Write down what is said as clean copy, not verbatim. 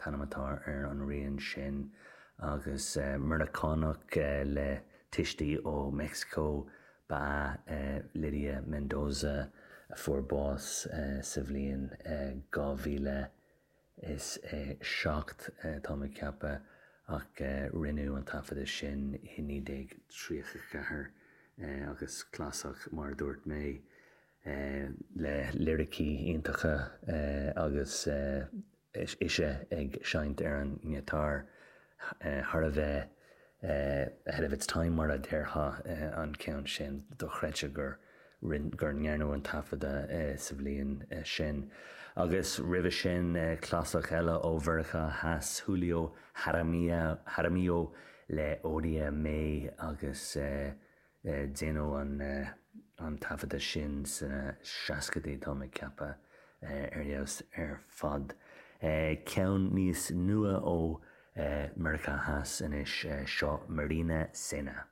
t-ainm atá ar an rian sin agus Meiriceánach le tuistí ó Meicsiceo ba ea Lydia Mendoza a fuair bás sa bhliain 2007, táim ag ceapadh, ach rinneadh an taifeadadh sin i 1934 agus clasaiceach mar a dúirt mé, le liricí iontacha agus ise ag seinnt ar an ngiotár thar a bheith ahead of its time mar a déarfá an ceann sin, dochreidte gur gur ndearnadh an taifeadadh sa bhliain sin. Agus roimhe sin clasaiceach eile ó Mheiriceá Theas, Julio Jaramillo le Ódiame agus Déanadh an taifeadadh sin sna seascaidí, táim ag ceapadh, ar fheabhas ar fad. Ceann níos nua ó Meiriceá Theas anois, seo Marina Sena.